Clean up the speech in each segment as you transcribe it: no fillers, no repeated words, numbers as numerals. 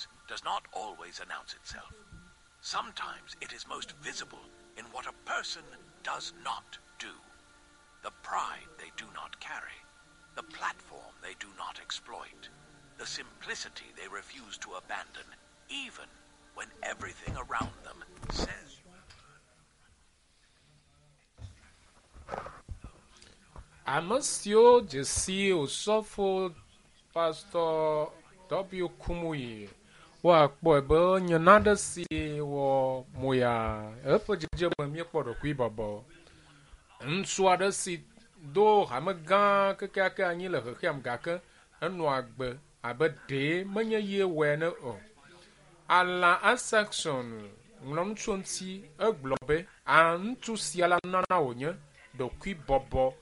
Greatness does not always announce itself. Sometimes it is most visible in what a person does not do. The pride they do not carry, the platform they do not exploit, the simplicity they refuse to abandon, even when everything around them says Ame siwo dze si Osɔfo Pastor W. Kumuyi woakpɔe be enye nane si wɔ moya eƒe dzedzeme míekpɔ ɖokuibɔbɔ. Ŋutsu aɖe si do hame gã kekeake anyi le xexeame gake enɔ agbe abe ɖee menye ye wɔe ene o. Alan Isaacson ŋlɔ nu tso eŋuti egblɔ be, A ŋutsu sia la nunana wònye, ɖokuibɔbɔ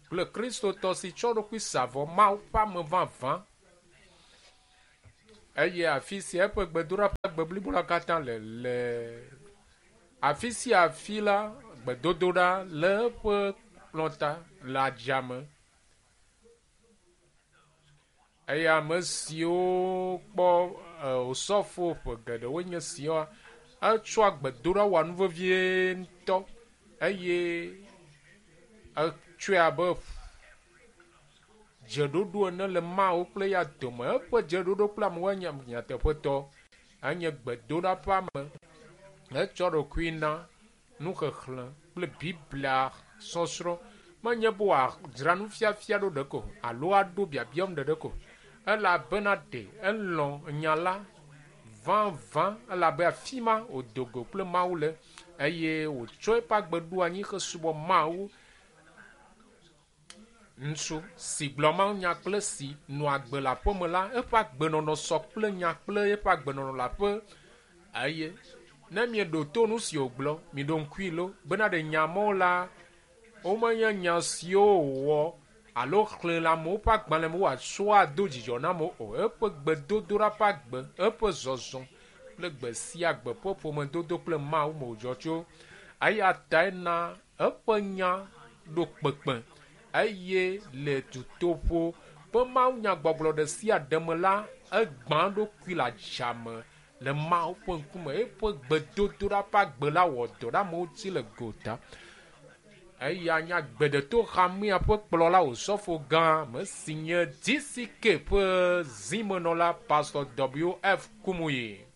kple Kristotɔ si tsɔ eɖokui sa vɔ Mawu ƒe ame vavã. Eye afi sia eƒe gbedoɖa ƒe agbe blibo la katã le le afi sia afi la gbedodoɖa le eƒe kplɔta le adzame. Eye ame siwo kpɔ osɔfo ƒe geɖewo nye siwa etsɔa gbedoɖa wɔa nu vevie ŋutɔ eye etsɔe abe dzeɖoɖo ene le Mawu kple eya dome. Eƒe dzeɖoɖo kple amewo nye nyateƒetɔ. Enye gbedoɖa ƒe ame. Etsɔ ɖokui na nuxexlẽ kple Biblia sɔsrɔ̃. Menye be wòadzra nufiafia ɖo ɖeke o alo aɖo biabiam ɖeɖe ko. Elabena ɖe elɔ̃ nya la vavã elabe afi ma wòdo go kple Mawu le eye wòtsɔ eƒe agbe ɖo anyi hesubɔ Mawu. Ŋutsu si gblɔ mawunya kple si nɔ agbe le aƒeme la, eƒe agbenɔnɔ sɔ kple nya kple eƒe agbenɔnɔ le aƒe eye ne mieɖo to nu si wògblɔ, miɖo ŋkui lo bena ɖe nya mawo la, womenye nya siwo wòwɔ alo xlẽ le amewo ƒe agbalẽ me wòatsɔ ado dzidzɔ na amewo o. Eƒe gbedodoɖa ƒe agbe, eƒe zɔzɔ kple gbe sia gbe ƒe ƒomedodo kple Mawu me wòdzɔ tso. Eya tae na eƒe nya ɖo kpekpe eye le dutoƒo ƒe mawunyagbɔgblɔ ɖe sia ɖe me la, egbã eɖokui le adzame le Mawu ƒe ŋkume. Eƒe gbedodoɖa ƒe agbe la wɔ dɔ ɖe amewo dzi le gota. Eya nye agbeɖeto hamea ƒe kplɔla Osɔfo gã ame si nye DCK ƒe zimenɔla Pastor W.F. Kumuyi.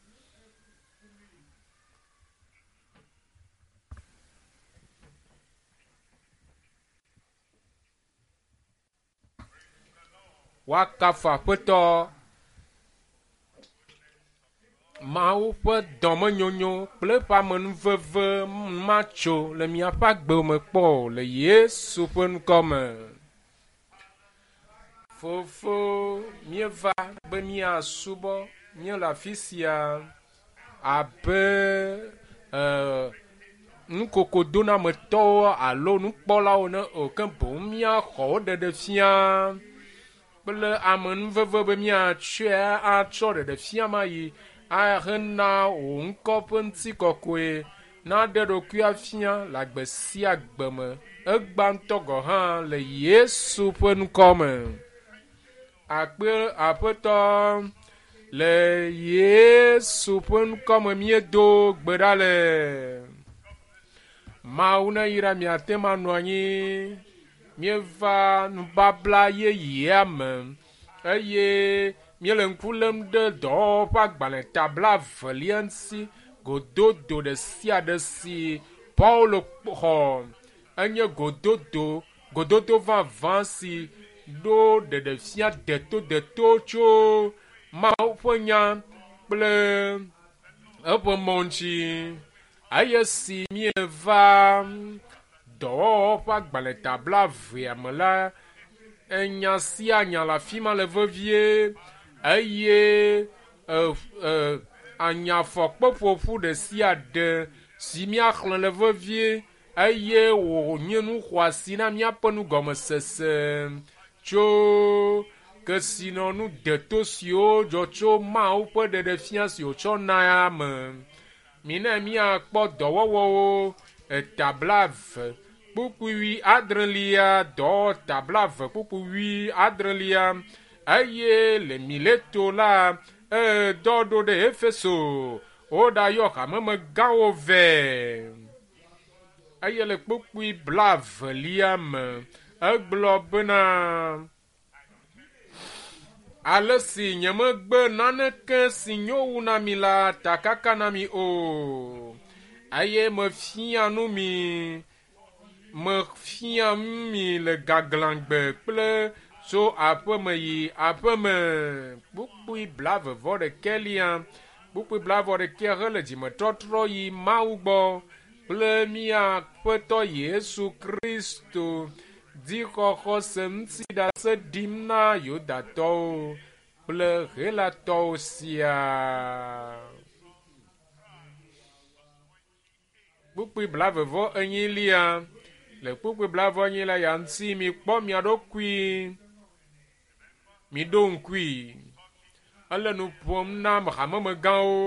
Woakafu Aƒetɔ Mawu ƒe dɔmenyonyo kple eƒe amenuveve matso le miaƒe agbe me kpɔ o le Yesu ƒe ŋkɔ me. Fofo, míeva be míasubɔ. Míele afi sia abe e, nukokodonametɔwo alo nukpɔlawo ne o, ke boŋ míaxɔ wo ɖeɖe fia kple amenuveve be míatsɔe atsɔ ɖeɖe fia ma yi ahena wò ŋkɔ ƒe ŋutikɔkɔe naɖe ɖokui afia le agbe sia agbe me. Egbã ŋutɔ gɔ̃ hã le Yesu ƒe ŋkɔ me. Akpe Aƒetɔ le Yesu ƒe ŋkɔ me míedo gbe ɖa le. Mawu neyra miate ŋu anɔ anyi. Míeva nubabla yeyea me eye míele ŋku lém ɖe dɔwɔwɔ ƒe agbalẽ ta blaevelia ŋuti. Gododo ɖe sia ɖe si Paulo xɔ enye gododo gododo vavã si ɖo ɖeɖefia detodeto tso Mawu ƒe nya kple eƒe mɔ ŋuti. Eye si míeva dɔwɔwɔ ƒe agbalẽ ta blaevea me la, enya sia nya le afi ma le vevie eye e, e, anyafɔkpeƒoƒu ɖe sia ɖe si míaxlẽ le vevie eye wònye nu xɔasi na míaƒe nugɔmesese tso kesinɔnu deto siwo dzɔ tso Mawu ƒe ɖeɖefia si wòtsɔ na me. Mina míakpɔ dɔwɔwɔwo eta blaeve kpukpui wui adrelia, dɔwɔta blaeve kpukpui wui adrelia eye le Mileto la, Edɔ ɖo ɖe Efeso woɖayɔ hamemegãwo vɛ. Eye le kpukpui blaevelia me egblɔ bena ale si nyemegbe naneke si nyo wu na mi la takaka na mi o eye mefia nu mi mefia nu mi le gaglãgbe kple tso aƒeme yi aƒeme. Kpukpui blaeve vɔ ɖekɛlia kpukpui blaeve ɖekɛ hele dzimetɔtrɔ yi Mawu gbɔ kple mía Aƒetɔ Yesu Kristo dzixɔxɔse ŋuti ɖase ɖim na Yudatɔwo kple Helatɔwo siaa. Kpukpui blaeve vɔ enyilia le kpukpui blaeve vɔ enyilia ya ŋuti mikpɔ mia ɖokui miɖo ŋkui. Ele nu ƒom na hamemegãwo.